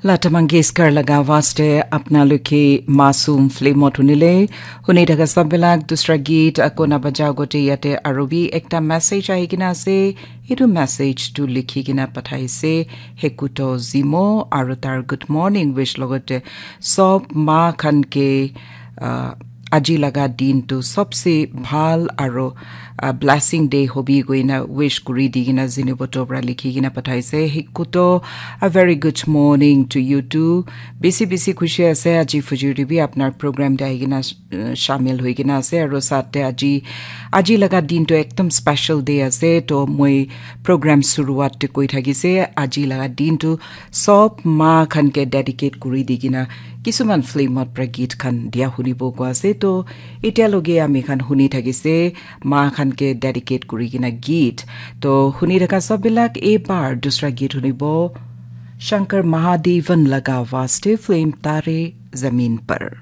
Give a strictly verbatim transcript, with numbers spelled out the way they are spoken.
Lata Mangeshkar laga awaaz te apna loke Masoom film ot hunile, huni thaka sab bilak dusra geet ako na baja gote yate aru bi ekta message ahi kena ase. Etu message tu likhi kena pathaise Hekuto Zimo aru tar good morning wish logote sob ma khan ke, ah, aji laga din tu sobse bhal aru, ah, blessing day hobi koina wish kuri di kena Ziniboto pra likhi kena pathaise. Hekuto, a very good morning to you too. Bisi bisi khushi ase aji fujur te bi apnar program te ahi kena, uh, shamil hoi kena ase aru sat te aji, aji laga din tu ekdom special day ase. To moi program suruat te koi thakise aji laga din tu sob ma khan ke dedicate kuri di kena kisuman film ot pra geet khan dia hunibo ko ase. To etia loge ami khan huni thakise ma khan ke dedicate kuri kena geet. To huni thaka sab bilak ebar dusra geet hunibo Shankar Mahadevan laga awaaz te film Tare Zameen Par.